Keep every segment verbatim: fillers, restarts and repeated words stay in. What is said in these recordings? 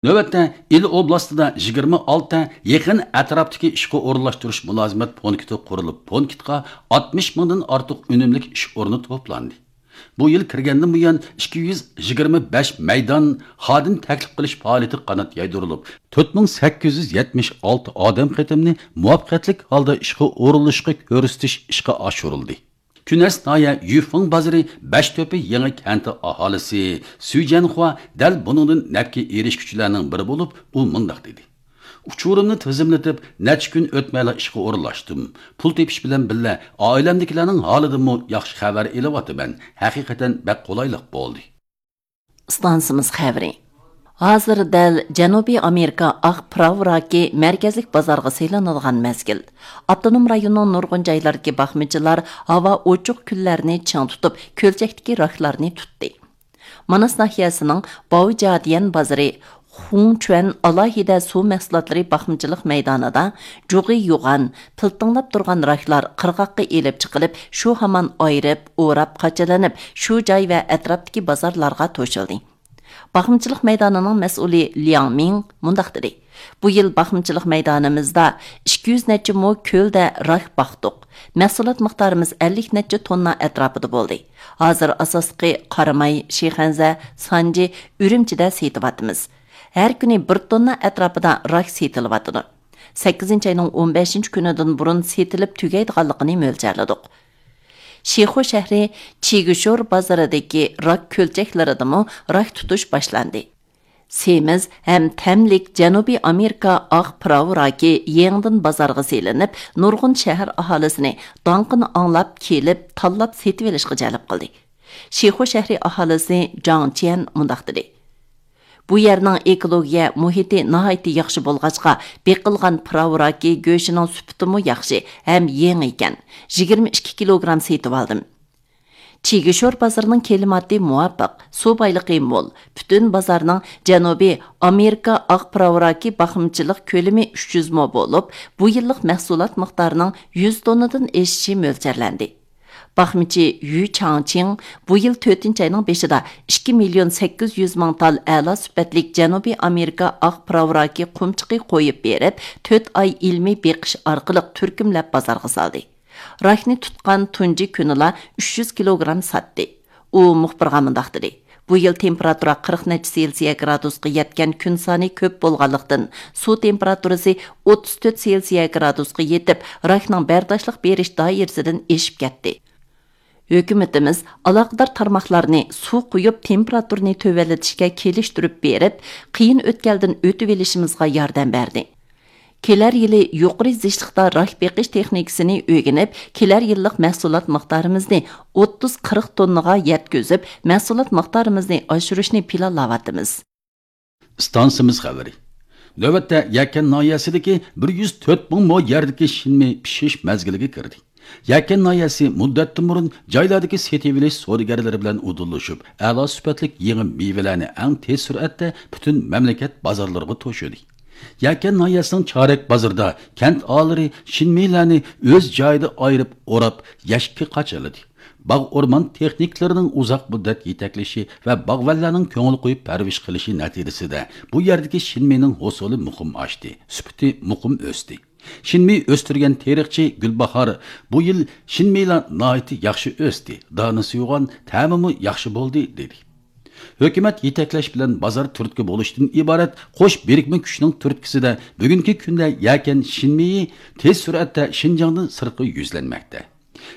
نۆۋەتتە ئىلى ئوبلاستىدا يىگىرمە ئالتە يېقىن ئەتراپتىكى ئىشقا ئورۇنلاشتۇرۇش مۇلازىمەت پونكىتى قۇرۇلۇپ، پونكىتقا ئاتمىش مىڭدىن ئارتۇق ئۈنۈملۈك ئىش ئورنى توپلاندى. بۇ يىل كىرگەندىن بۇيان ئىككى يۈز يىگىرمە بەش مەيدان خادىم تەكلىپ قىلىش پائالىيىتى قانات يايدۇرۇلۇپ، تۆت مىڭ سەككىز يۈز يەتمىش ئالتە ئادەم قېتىمنى مۇۋەپپەقىيەتلىك ھالدا ئىشقا ئورۇنلىشىشقا كۆرسىتىش ئىشقا ئاشۇرۇلدى. كۈنەس ناھىيە يۈفېڭ بازىرى بەشتۆپە يېڭى كەنتى ئاھالىسى سۈي جيەنخۇا دەل بۇنىڭدىن نەپكە ئېرىشكۈچىلەرنىڭ بىرى بولۇپ، ئۇ مۇنداق دېدى: ئۇچۇرۇمنى تىزىملىتىپ، نەچچە كۈن ئۆتمەيلا ئىشقا ئورۇنلاشتىم. پۇل تېپىش بىلەن بىللە، ئائىلەمدىكىلەرنىڭ ھالىدىنمۇ ياخشى خەۋەر ئېلىۋاتىمەن. ھەقىقەتەن بەك قولايلىق بولدى. ئىستانسىمىز خەۋىرى. ھازىر دەل جەنۇبىي ئامېرىكا ئاق پىراۋ راكى مەركەزلىك بازارغا سېلىنىدىغان مەزگىل. ئاپتونوم رايوننىڭ نۇرغۇن جايلىرىدىكى باقمىچىلار ھاۋا ئوچۇق كۈنلەرنى چىڭ تۇتۇپ، كۆلچەكتىكى راكلارنى تۇتتى. ماناس ناھىيەسىنىڭ باۋجياديەن بازىرى خۇڭچۈەن ئالاھىدە سۇ مەھسۇلاتلىرى باقمىچىلىق مەيدانىدا جۇغى يوغان، پىلتىڭلاپ تۇرغان راكلار قىرغاققا ئېلىپ چىقىلىپ، شۇ ھامان ئايرىپ، ئوراپ، قاچىلىنىپ، شۇ جاي ۋە ئەتراپتىكى بازارلارغا توشۇلدى. باقمىچىلىق مەيدانىنىڭ مەسئۇلى لياڭ مىڭ مۇنداق دېدى: بۇ يىل باقمىچىلىق مەيدانىمىزدا ئىككى يۈز نەچچە مو كۆلدە راك باقتۇق. مەھسۇلات مىقدارىمىز ئەللىك نەچچە توننا ئەتراپىدا بولدى. ھازىر ئاساسلىقى قاراماي، شىخەنزە، سانجى، ئۈرۈمچىدە سېتىۋاتىمىز. ھەر كۈنى بىر توننا ئەتراپىدا راك سېتىلىۋاتىدۇ. سەككىزىنچى ئاينىڭ ئون بەشىنچى كۈنىدىن بۇرۇن سېتىلىپ تۈگەيدىغانلىقىنى مۆلچەرلىدۇق. شىخۇ شەھىرى چىگىشور بازىرىدىكى راك كۆلچەكلىرىدىمۇ راك تۇتۇش باشلاندى. سېمىز ھەم تەملىك جەنۇبىي ئامېرىكا ئاق پىراۋ راكى يېڭىدىن بازارغا سېلىنىپ، نۇرغۇن شەھەر ئاھالىسىنى داڭقىنى ئاڭلاپ كېلىپ، تاللاپ سېتىۋېلىشقا جەلپ قىلدى. شىخۇ شەھىرى ئاھالىسى جاڭ چيەن مۇنداق دېدى: بۇ يەرنىڭ ئېكولوگىيە مۇھىتى ناھايىتى ياخشى بولغاچقا، بېقىلغان پىراۋ راكى گۆشىنىڭ سۈپىتىمۇ ياخشى ھەم يېڭى ئىكەن. يىگىرمە ئىككى كىلوگرام سېتىۋالدىم. چىگىشور بازىرىنىڭ كىلىماتى مۇۋاپىق، سۇ بايلىقى مول. پۈتۈن بازارنىڭ جەنۇبىي ئامېرىكا ئاق پىراۋ راكى باقمىچىلىق كۆلىمى ئۈچ يۈز مو بولۇپ، بۇ يىللىق مەھسۇلات مىقدارىنىڭ يۈز توننىدىن ئېشىشى مۆلچەرلەندى. باقمىچى يۈ چاڭچىڭ بۇ يىل تۆتىنچى ئاينىڭ بېشىدا ئىككى مىليون سەككىز يۈز مىڭ تال ئەلا سۈپەتلىك جەنۇبىي ئامېرىكا ئاق پىراۋ راكى قۇمچىقى قويۇپ بېرىپ، تۆت ئاي ئىلمىي بېقىش ئارقىلىق تۈركۈملەپ بازارغا سالدى. راكنى تۇتقان تۇنجى كۈنىلا ئۈچ يۈز كىلوگرام ساتتى. ئۇ مۇخبىرغا مۇنداق دېدى: بۇ يىل تېمپېراتۇرا قىرىق نەچچە سېلسىيە گرادۇسقا يەتكەن كۈن سانى كۆپ بولغانلىقتىن، سۇ تېمپېراتۇرىسى ئوتتۇز تۆت سېلسىيە گرادۇسقا يېتىپ، راكنىڭ بەرداشلىق بېرىش دائىرىسىدىن ئېشىپ كەتتى. ھۆكۈمىتىمىز ئالاقىدار تارماقلارنى سۇ قۇيۇپ، تېمپېراتۇرىنى تۆۋەنلىتىشكە كېلىشتۈرۈپ بېرىپ، قىيىن ئۆتكەلدىن ئۆتۈۋېلىشىمىزغا ياردەم بەردى. كېلەر يىلى يۇقىرى زىچلىقتا راك بېقىش تېخنىكىسىنى ئۆگىنىپ، كېلەر يىللىق مەھسۇلات مىقدارىمىزنى ئوتتۇز قىرىق توننىغا يەتكۈزۈپ، مەھسۇلات مىقدارىمىزنى ئاشۇرۇشنى پىلانلاۋاتىمىز. ئىستانسىمىز خەۋىرى. نۆۋەتتە يەكەن ناھىيەسىدىكى بىر يۈز تۆت مىڭ مو يەردىكى شىنمېي پىشىش مەزگىلىگە كىردى. يەكەن ناھىيەسى مۇددەتتىن بۇرۇن جايلاردىكى سېتىۋېلىش سودىگەرلىرى بىلەن ئۇدۇللىشىپ، ئەلا سۈپەتلىك يېڭى مېۋىلەرنى ئەڭ تېز سۈرئەتتە پۈتۈن مەملىكەت بازارلىرىغا توشۇدى. يەكەن ناھىيەسىنىڭ چارەك بازىرىدا كەنت ئاھالىلىرى شىنمېيلەرنى ئۆز جايىدا ئايرىپ، ئوراپ، يەشىككە قاچىلىدى. باغ ئورمان تېخنىكلىرىنىڭ ئۇزاق مۇددەت يېتەكلىشى ۋە باغۋەنلەرنىڭ كۆڭۈل قويۇپ پەرۋىش قىلىشى نەتىجىسىدە، بۇ يەردىكى شىنمېينىڭ ھوسۇلى مۇقىم ئاشتى، سۈپىتى مۇقىم ئۆستى. شىنمېي ئۆستۈرگەن تېرىقچى گۈلباھار: بۇ يىل شىنمېيلار ناھايىتى ياخشى ئۆستى، دانىسى يوغان، تەمىمۇ ياخشى بولدى، دېدى. ھۆكۈمەت يېتەكلەش بىلەن بازار تۈرتكە بولۇشتىن ئىبارەت قوش بىرىكمە كۈچنىڭ تۈرتكىسىدە بۈگۈنكى كۈندە يەكەن شىنمېيى تېز سۈرئەتتە شىنجاڭدىن سىرتقا يۈزلەنمەكتە.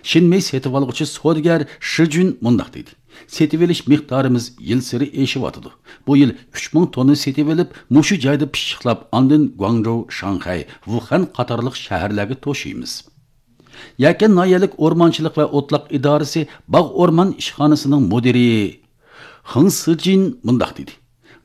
شىنمېي سېتىۋالغۇچى سودىگەر شىجۈن مۇنداق دېدى: سېتىۋېلىش مىقدارىمىز يىلسېرى ئېشىۋاتىدۇ. بۇ يىل ئۈچ مىڭ توننا سېتىۋېلىپ، مۇشۇ جايدا پىششىقلاپ، ئاندىن گۇاڭجۇ، شاڭخەي، ۋۇخەن قاتارلىق شەھەرلەرگە توشۇيمىز. يەكەن ناھىيەلىك ئورمانچىلىق ۋە ئوتلاق ئىدارىسى باغ ئورمان ئىشخانىسىنىڭ مۇدىرى خېڭ سىجىن مۇنداق دېدى: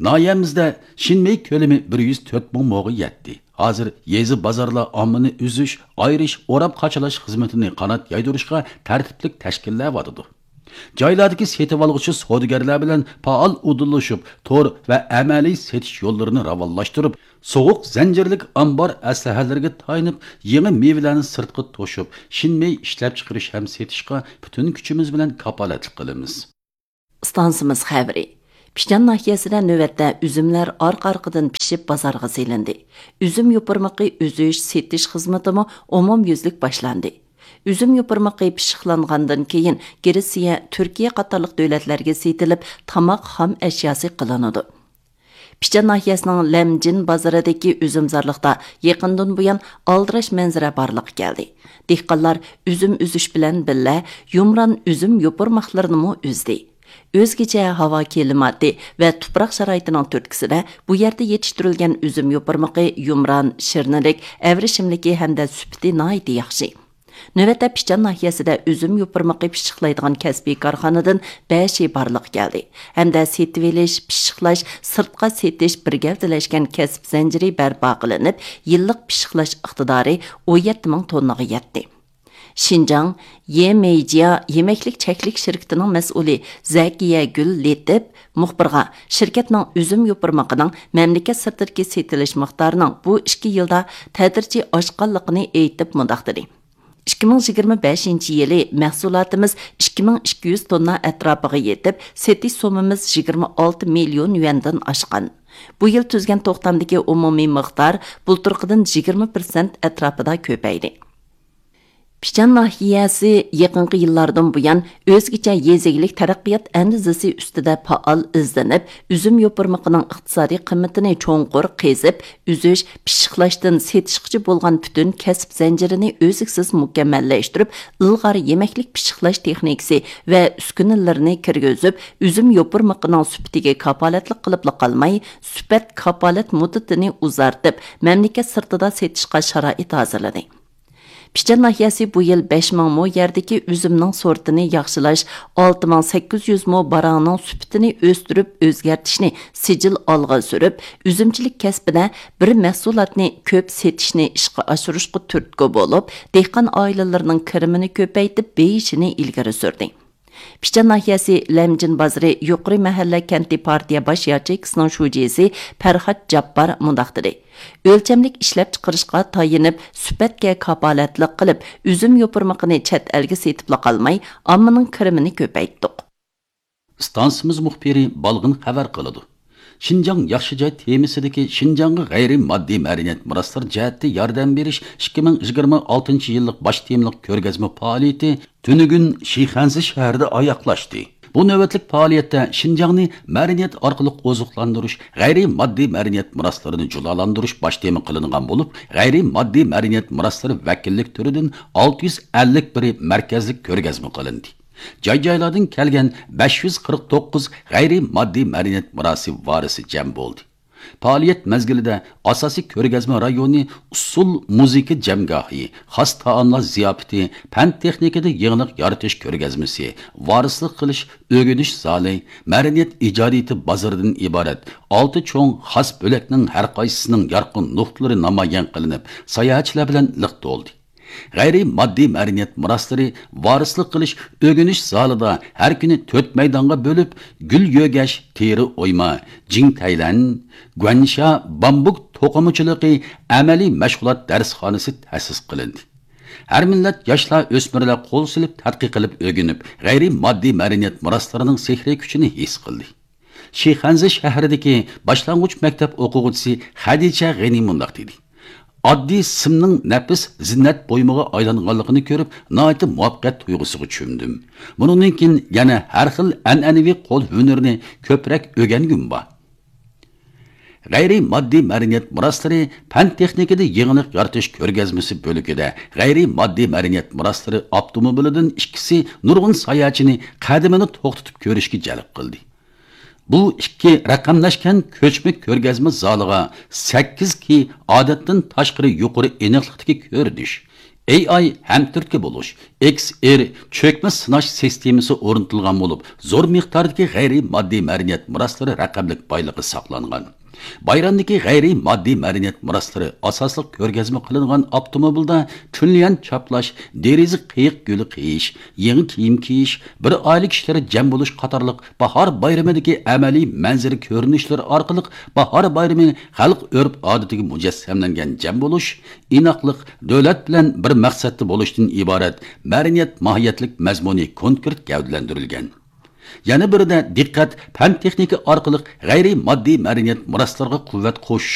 ناھىيەمىزدە شىنمېي كۆلىمى بىر يۈز تۆت مىڭ موغا يەتتى. ھازىر يېزا بازارلار ئاممىنى ئۈزۈش، ئايرىش، ئوراپ قاچىلاش خىزمىتىنى قانات يايدۇرۇشقا تەرتىپلىك تەشكىللەۋاتىدۇ. جايلاردىكى سېتىۋالغۇچى سودىگەرلەر بىلەن پائال ئۇدۇللىشىپ، تور ۋە ئەمەلىي سېتىش يوللىرىنى راۋانلاشتۇرۇپ، سوغۇق زەنجىرلىك ئامبار ئەسلىھەلىرىگە تايىنىپ، يېڭى مېۋىلەرنى سىرتقا توشۇپ، شىنمېي ئىشلەپچىقىرىش ھەم سېتىشقا پۈتۈن كۈچىمىز بىلەن كاپالەتلىك قىلىمىز. ئىستانسىمىز خەۋىرى. پىچان ناھىيەسىدە نۆۋەتتە ئۈزۈملەر ئارقا-ئارقىدىن پىشىپ بازارغا سېلىندى. ئۈزۈم يوپۇرمىقى ئۈزۈش، سېتىش خىزمىتىمۇ ئومۇميۈزلۈك باشلاندى. ئۈزۈم يوپۇرمىقى پىششىقلانغاندىن كېيىن، گرېتسىيە، تۈركىيە قاتارلىق دۆلەتلەرگە سېتىلىپ، تاماق خام ئەشياسى قىلىنىدۇ. پىچان ناھىيەسىنىڭ لەمجىن بازىرىدىكى ئۈزۈمزارلىقتا يېقىندىن بۇيان ئالدىراش مەنزىرە بارلىققا كەلدى. دېھقانلار ئۈزۈم ئۈزۈش بىلەن بىللە، يۇمران ئۈزۈم يوپۇرماقلىرىنىمۇ ئۈزدى. ئۆزگىچە ھاۋا كىلىماتى ۋە تۇپراق شارائىتىنىڭ تۈرتكىسىدە، بۇ يەردە يېتىشتۈرۈلگەن ئۈزۈم يوپۇرمىقى يۇمران، شىرنىلىك، ئەۋرىشىملىكى ھەمدە سۈپىتى ناھايىتى ياخشى. نۆۋەتتە پىچان ناھىيەسىدە ئۈزۈم يوپۇرمىقى پىششىقلايدىغان كەسپىي كارخانىدىن بەشى بارلىققا كەلدى ھەمدە سېتىۋېلىش، پىششىقلاش، سىرتقا سېتىش بىر گەۋدىلەشكەن كەسىپ زەنجىرى بەرپا قىلىنىپ، يىللىق پىششىقلاش ئىقتىدارى ئون يەتتە مىڭ توننىغا يەتتى. شىنجاڭ يېمېيجيا يېمەكلىك چەكلىك شىركىتىنىڭ مەسئۇلى زەكىيەگۈل لېتىپ مۇخبىرغا شىركەتنىڭ ئۈزۈم يوپۇرمىقىنىڭ مەملىكەت سىرتىدىكى سېتىلىش مىقدارىنىڭ بۇ ئىككى يىلدا تەدرىجىي ئاشقانلىقىنى ئېيتىپ مۇنداق دېدى: ئىككى مىڭ يىگىرمە بەشىنچى يىلى مەھسۇلاتىمىز ئىككى مىڭ ئىككى يۈز توننا ئەتراپىغا يېتىپ، سېتىش سوممىمىز يىگىرمە ئالتە مىليون يۈەندىن ئاشقان. بۇ يىل تۈزگەن توختامدىكى ئومۇمىي مىقدار بۇلتۇرقىدىن يىگىرمە پىرسەنت ئەتراپىدا كۆپەيدى. پىچان ناھىيەسى يېقىنقى يىللاردىن بۇيان ئۆزگىچە يېزا ئىگىلىك تەرەققىيات ئەندىزىسى ئۈستىدە پائال ئىزدىنىپ، ئۈزۈم يوپۇرمىقىنىڭ ئىقتىسادىي قىممىتىنى چوڭقۇر قېزىپ، ئۈزۈش، پىششىقلاشتىن سېتىشقىچە بولغان پۈتۈن كەسىپ زەنجىرىنى ئۈزلۈكسىز مۇكەممەللەشتۈرۈپ، ئىلغار يېمەكلىك پىششىقلاش تېخنىكىسى ۋە ئۈسكۈنىلىرىنى كىرگۈزۈپ، ئۈزۈم يوپۇرمىقىنىڭ سۈپىتىگە كاپالەتلىك قىلىپلا قالماي، سۈپەت كاپالەت مۇددىتىنى ئۇزارتىپ، مەملىكەت سىرتىدا سېتىشقا شارائىت ھازىرلىدى. پىچان ناھىيەسى بۇ يىل بەش مىڭ مو يەردىكى ئۈزۈمنىڭ سورتىنى ياخشىلاش، ئالتە مىڭ سەككىز يۈز مو باراڭنىڭ سۈپىتىنى ئۆستۈرۈپ ئۆزگەرتىشنى سىجىل ئالغا سۈرۈپ، ئۈزۈمچىلىك كەسپىدە بىر مەھسۇلاتنى كۆپ سېتىشنى ئىشقا ئاشۇرۇشقا تۈرتكە بولۇپ، دېھقان ئائىلىلىرىنىڭ كىرىمىنى كۆپەيتىپ بېيىشىنى ئىلگىرى سۈردى. پىچان ناھىيەسى لەمجىن بازىرى يۇقىرى مەھەللە كەنتى پارتىيە باش ياچېيكىسىنىڭ شۇجىسى پەرھات جاپپار مۇنداق دېدى: ئۆلچەملىك ئىشلەپچىقىرىشقا تايىنىپ، سۈپەتكە كاپالەتلىك قىلىپ، ئۈزۈم يوپۇرمىقىنى چەت ئەلگە سېتىپلا قالماي، ئاممىنىڭ كىرىمىنى كۆپەيتتۇق. ئىستانسىمىز مۇخبىرى بالغىن خەۋەر قىلىدۇ. شىنجاڭ ياخشى جاي تېمىسىدىكى شىنجاڭغا غەيرىي ماددىي مەدەنىيەت مىراسلىرى جەھەتتە ياردەم بېرىش ئىككى مىڭ يىگىرمە ئالتىنچى يىللىق باش تېمىلىق كۆرگەزمە پائالىيىتى تۈنۈگۈن شىخەنزە شەھىرىدە ئاياغلاشتى. بۇ نۆۋەتلىك پائالىيەتتە شىنجاڭنى مەدەنىيەت ئارقىلىق ئوزۇقلاندۇرۇش، غەيرىي ماددىي مەدەنىيەت مىراسلىرىنى جۇلالاندۇرۇش باش تېما قىلىنغان بولۇپ، غەيرىي ماددىي مەدەنىيەت مىراسلىرى ۋەكىللىك تۈرىدىن ئالتە يۈز ئەللىك بىرى مەركەزلىك كۆرگەزمە قىلىندى. جاي-جايلاردىن كەلگەن بەش يۈز قىرىق توققۇز غەيرىي ماددىي مەدەنىيەت مىراسى ۋارىسى جەم بولدى. پائالىيەت مەزگىلىدە ئاساسىي كۆرگەزمە رايونى ئۇسسۇل مۇزىكا جەمگاھى، خاس تائاملار زىياپىتى، پەن تېخنىكىدا يېڭىلىق يارىتىش كۆرگەزمىسى، ۋارىسلىق قىلىش ئۆگىنىش زالى، مەدەنىيەت ئىجادىيىتى بازىرىدىن ئىبارەت ئالتە چوڭ خاس بۆلەكنىڭ ھەرقايسىسىنىڭ يارقىن نۇقتىلىرى نامايان قىلىنىپ، ساياھەتچىلەر بىلەن لىق تولدى. غەيرىي ماددىي مەدەنىيەت مىراسلىرى ۋارىسلىق قىلىش ئۆگىنىش زالىدا ھەر كۈنى تۆت مەيدانغا بۆلۈپ، گۈل يۆگەش، تېرە ئويما، جىڭ تەيلەن، گۇەنشا، بامبۇك توقۇمىچىلىقى ئەمەلىي مەشغۇلات دەرسخانىسى تەسىس قىلىندى. ھەر مىللەت ياشلار، ئۆسمۈرلەر قول سېلىپ، تەتقىق قىلىپ ئۆگىنىپ، غەيرىي ماددىي مەدەنىيەت مىراسلىرىنىڭ سېھرىي كۈچىنى ھېس قىلدى. شىخەنزە شەھىرىدىكى باشلانغۇچ مەكتەپ ئوقۇغۇچىسى خەدىچە غېنى مۇنداق دېدى: ئاددىي سىمنىڭ نەپىس زىننەت بۇيۇمىغا ئايلانغانلىقىنى كۆرۈپ، ناھايىتى مۇۋەپپەقىيەت تۇيغۇسىغا چۆمدۈم. بۇنىڭدىن كېيىن يەنە ھەر خىل ئەنئەنىۋى قول ھۈنىرىنى كۆپرەك ئۆگەنگۈم بار. غەيرىي ماددىي مەدەنىيەت مىراسلىرى پەن تېخنىكىدا يېڭىلىق يارىتىش كۆرگەزمىسى بۆلىكىدە غەيرىي ماددىي مەدەنىيەت مىراسلىرى ئاپتوموبىلىدىن ئىككىسى نۇرغۇن ساياھەتچىنى قەدىمىنى توختىتىپ كۆرۈشكە جەلپ قىلدى. بۇ ئىككى رەقەملەشكەن كۆچمە كۆرگەزمە زالىغا سەككىز كى ئادەتتىن تاشقىرى يۇقىرى ئېنىقلىقتىكى كۆرۈنۈش، ئېي ئاي ھەمتۈرتكە بولۇش، ئېكس ئېر چۆكمە سىناش سىستېمىسى ئورنىتىلغان بولۇپ، زور مىقداردىكى غەيرىي ماددىي مەدەنىيەت مىراسلىرى رەقەملىك بايلىقى ساقلانغان. بايرامدىكى غەيرىي ماددىي مەدەنىيەت مىراسلىرى ئاساسلىق كۆرگەزمە قىلىنغان ئاپتوموبىلدا تۈنليەن چاپلاش، دېرىزە قېيىق گۈلى قېيىش، يېڭى كىيىم كىيىش، بىر ئائىلە كىشىلىرى جەم بولۇش قاتارلىق باھار بايرىمىدىكى ئەمەلىي مەنزىرە كۆرۈنۈشلىرى ئارقىلىق باھار بايرىمى خەلق ئۆرپ-ئادىتىگە مۇجەسسەملەنگەن جەم بولۇش، ئىناقلىق، دۆلەت بىلەن بىر مەقسەتتە بولۇشتىن ئىبارەت مەدەنىيەت ماھىيەتلىك مەزمۇنى كونكرېت گەۋدىلەندۈرۈلگەن. يەنە بىرىدە دىققەت پەن-تېخنىكا ئارقىلىق غەيرىي ماددىي مەدەنىيەت مىراسلىرىغا قۇۋۋەت قوشۇش